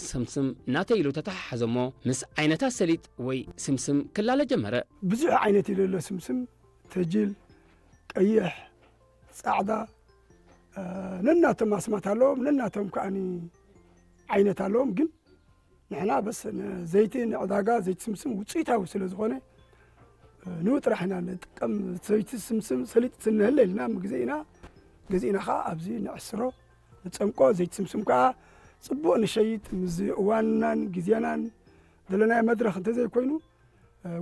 ስምስም እናተ ኢሉ ተተሓሓዘሞ ምስ ዓይነታት ሰሊጥ ወይ ስምስም ክላለ ጀመረ። ብዙሕ ዓይነት እዩ ዘሎ። ስምስም፣ ተጅል፣ ቀይሕ፣ ፃዕዳ፣ ነናቶም ኣስማት ኣለዎም፣ ነናቶም ከዓኒ ዓይነት ኣለዎም። ግን ንሕና በስ ዘይቲ ንዕዳጋ ዘይቲ ስምስም ውፅኢታዊ ስለ ዝኾነ ንኡ ጥራሕ ኢና ንጥቀም። ዘይቲ ስምስም ሰሊጥ ስንህለ ኢልና ምግዜ ኢና ገዚእና ከዓ ኣብዚ ንዕስሮ ንፀምቆ። ዘይቲ ስምስም ከዓ ፅቡቅ ንሸይጥ። ምዚ እዋንናን ግዜናን ዘለናዮ መድረክ እንተዘይኮይኑ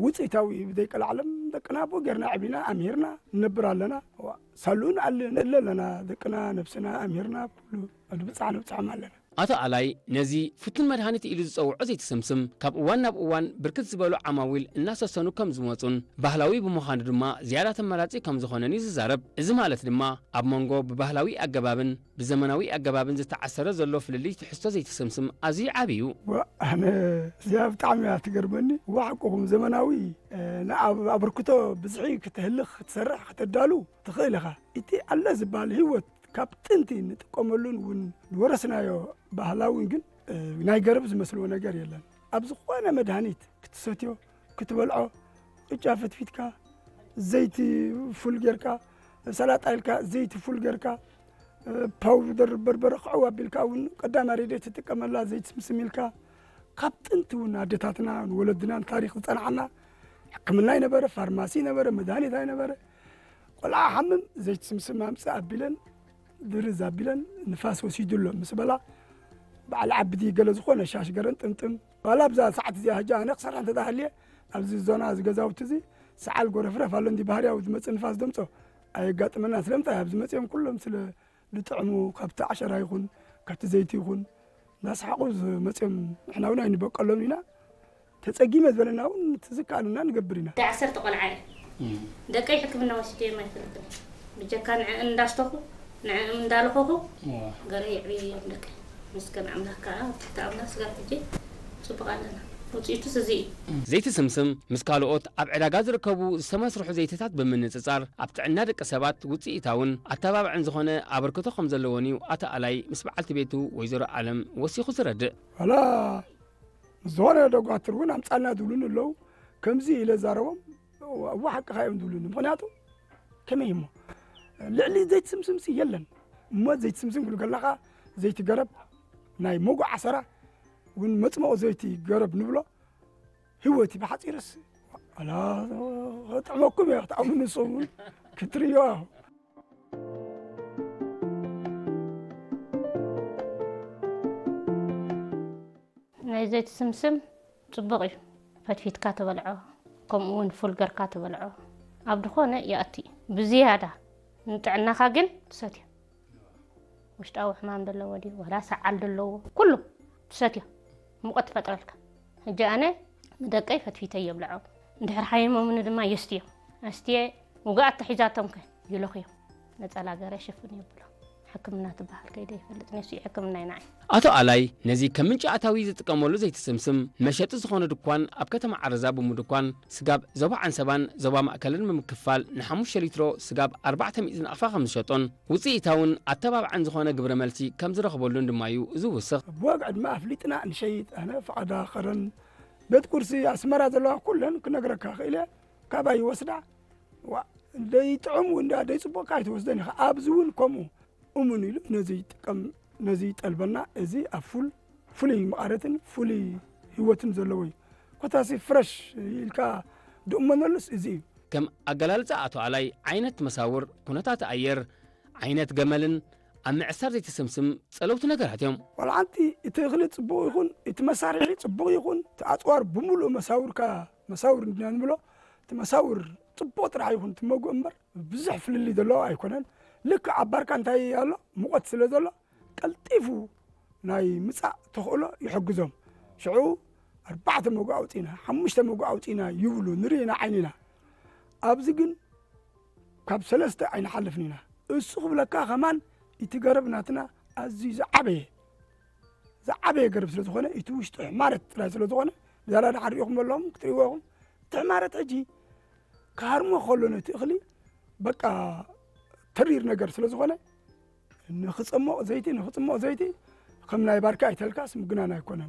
ውፅኢታዊ እዩ። ብዘይቀላዕለም ደቅና ኣብኡ ጌርና ዕቢና ኣምሂርና ንነብር ኣለና። ሳልኡ ንኣል ንእለ ኣለና። ደቅና ነብስና ኣምሂርና ኩሉ ንብፃሕ ንብፅሖም ኣለና። ኣቶ ኣላይ ነዚ ፍቱን መድሃኒት ኢሉ ዝጸውዖ ዘይትስምስም ካብ እዋን ናብ እዋን ብርክት ዝበሉ ዓማዊል እናሰሰኑ ከም ዝመጹን ባህላዊ ብምዃኑ ድማ ዝያዳ ተመራጺ ከም ዝኾነን እዩ ዝዛረብ። እዚ ማለት ድማ ኣብ መንጎ ብባህላዊ ኣገባብን ብዘመናዊ ኣገባብን ዝተዓሰረ ዘሎ ፍልልይ ትሕዝቶ ዘይትስምስም ኣዝዩ ዓቢ እዩ። ኣነ እዚኣ ብጣዕሚ እያ ትገርመኒ። ዋሕቁኹም ዘመናዊ ንኣብ ኣበርክቶ ብዝሒ ክትህልኽ ክትሰርሕ ከተዳሉ ትኽእል ኢኻ። እቲ ኣለ ዝበሃል ህይወት ካብ ጥንቲ ንጥቀመሉን እውን ዝወረስናዮ ባህላዊ ግን ናይ ገረብ ዝመስልዎ ነገር የለን። ኣብ ዝኾነ መድሃኒት ክትሰትዮ ክትበልዖ ቅጫ ፈትፊትካ ዘይቲ ፉል ጌርካ ሰላጣ ኢልካ ዘይቲ ፉል ጌርካ ፓውደር በርበረ ክዕው ኣቢልካ እውን ቀዳማ ሬድዮ ትጥቀመላ ዘይቲ ስምስም ኢልካ ካብ ጥንቲ እውን ኣደታትና ንወለድናን ታሪክ ዝፀንዓና ሕክምና ይነበረ ፋርማሲ ይነበረ መድሃኒት ኣይነበረ ቆልዓ ሓምም ዘይቲ ስምስም ኣምፅእ ኣቢለን ድርዝ ኣቢለን ንፋስ ወሲዱ ኣሎ ምስ በላ በዓል ዓቢ ድዩ ገለ ዝኾነ ሻሽ ገረን ጥምጥም ዋላ ኣብዛ ሰዓት እዚኣ ሕጂ ኣነ ክሰርሕ እንተተሃልየ ኣብዚ ዞና እዚ ገዛውቲ እዚ ሰዓል ጎረፍረፍ ኣሎ እንዲ ባህርያዊ ዝመፅእ ንፋስ ደምፆ ኣየጋጥመና ስለምንታይ ኣብዚ መፅኦም ኩሎም ስለ ዝጥዕሙ ካብቲ ዓሸራ ይኹን ካብቲ ዘይቲ ይኹን እናሰሓቑ ዝመፅኦም ንሕና እውን ኣይንበቀሎም ኢና ተፀጊመ ዝበለና እውን እቲ ዝከኣለና ንገብር ኢና። ናይ ዓሰርተ ቆልዓ እየ። ደቀይ ሕክምና ወሲደዮም ኣይፈልጥን። ብጀካ ንዕእን እንዳስተኹ ንዕእም እንዳለኸኹ ገለ የዕብየዮም ደቀይ። ምስገን ኣምላኽ ከዓ ኣብ ትሕቲ ኣምላኽ ስጋብ ሕጂ ፅቡቕ ኣለና። ውፅኢቱስ እዚ እዩ። ዘይቲ ስምስም ምስ ካልኦት ኣብ ዕዳጋ ዝርከቡ ዝተመስርሑ ዘይትታት ብምንፅፃር ኣብ ጥዕና ደቂ ሰባት ውፅኢታውን ኣተባባዕን ዝኾነ ኣበርክቶ ከም ዘለዎን እዩ ኣቶ ኣላይ ምስ በዓልቲ ቤቱ ወይዘሮ ኣለም ወሲኹ ዝረድእ። ዋላ ምስ ዝኾነ ደጓትር እውን ኣምፃልና ዝብሉኒ ኣለዉ። ከምዚ ኢለ ዛረቦም እዋ ሓቅኻ እዮም ዝብሉኒ። ምኽንያቱ ከመይ እሞ ልዕሊ ዘይትስምስምሲ የለን እሞ ዘይትስምስም ክብል ከለኻ ዘይቲ ገረብ ናይ ሞጎ ዓሰራ እውን መፅመቑ ዘይቲ ገረብ ንብሎ ህይወት እዩ ብሓፂርስ ኣላ ከጥዕመኩም እየ ክትኣምኑ ንስኹም ክትርእዮ ናይ ዘይቲ ስምስም ፅቡቕ እዩ። ፈትፊትካ ትበልዖ፣ ከምኡ እውን ፉል ገርካ ትበልዖ። ኣብ ድኾነ ይኣቲ እዩ። ብዝያዳ ንጥዕናኻ ግን ትሰትዮ። ውሽጣዊ ሕማም ዘለዎ ድዩ፣ ዋላ ሰዓል ዘለዎ፣ ኩሉ ትሰትዮ። ሙቐት ትፈጥረልካ። ሕጂ ኣነ ንደቀይ ፈትፊተ የብልዖ። እንድሕር ሓሚሞምኒ ድማ የስትዮም። ኣስትየ ውግኣት ተሒዛቶም ከ ይለኽዮም። ነጸላ ገረ ሽፍን የብሎ። ሕክምና ትበሃል ከይደ ይፈልጥ ነሱ ሕክምና ይናዓይ። ኣቶ ኣላይ ነዚ ከም ምንጪ ኣታዊ ዝጥቀመሉ ዘይትስምስም መሸጢ ዝኾነ ድኳን ኣብ ከተማ ዓረዛ ብምድኳን ስጋብ ዞባ ዓንሰባን ዞባ ማእከልን ብምክፋል ንሓሙሽተ ሊትሮ ስጋብ ኣርባዕተ ሚእቲ ናቕፋ ከም ዝሸጦን ውፅኢታውን ኣተባባዕን ዝኾነ ግብረ መልሲ ከም ዝረኽበሉን ድማ እዩ ዝውስኽ። ብዋጋ ዕድመ ኣፍሊጥና ንሸይጥ ኣነ ፈቓዳ ኸረን ቤት ቁርሲ ኣስመራ ዘለዋ ኩለን ክነግረካ ክእል እየ ካባይ ይወስዳ ዋ ደይጥዑም እንዳ ደይፅቡቕካ ኣይትወስደን ኢኻ ኣብዚ እውን ከምኡ እሙን ኢሉ ነዚ ይጥቀም ነዚ ይጠልበና እዚ ኣብ ፉል ፍሉይ መቓረትን ፍሉይ ህይወትን ዘለዎ እዩ ኮታሲ ፍረሽ ኢልካ ድእመነሉስ እዚ እዩ ከም ኣገላልፃ ኣቶ ኣላይ ዓይነት መሳውር ኩነታት ኣየር ዓይነት ገመልን ኣብ ምዕሳር ዘይተሰምስም ጸለውቲ ነገራት እዮም። ዋላ ሓንቲ እቲ እኽሊ ጽቡቕ ይኹን እቲ መሳርሒ ጽቡቕ ይኹን እቲ ኣጽዋር ብምሉእ መሳውርካ መሳውር እንድና ንብሎ እቲ መሳውር ጽቡቕ ጥራሕ ይኹን እቲ መጉእ እምበር ብዙሕ ፍልልይ ዘለዎ ኣይኮነን። ልክዕ ኣብ ባርካ እንታይ ኣሎ ሙቐት ስለ ዘሎ ቀልጢፉ ናይ ምጻእ ተኽእሎ ይሕግዞም። ሽዑ ኣርባዕተ መጉእ ኣውጺእና ሓሙሽተ መጉእ ኣውጺእና ይብሉ ንርኢ ኢና ዓይንና። ኣብዚ ግን ካብ ሰለስተ ኣይንሓልፍን ኢና። እሱ ክብለካ ከማን እቲ ገረብ ናትና ኣዝዩ ዝዓበየ ዝዓበየ ገረብ ስለ ዝኾነ እቲ ውሽጡ ሕማረት ጥራይ ስለ ዝኾነ ብዛላ ደሓር ሪኢኹም ኣለኹም ክትሪእዎ ኢኹም እቲ ሕማረት ሕጂ ክሃርሞ ከሎ ነቲ እኽሊ በቃ ተሪር ነገር ስለ ዝኾነ ንኽፀሞቕ ዘይቲ ንኽፅሞቕ ዘይቲ ከም ናይ ባርካ ኣይተልካስ ምግናን ኣይኮነን።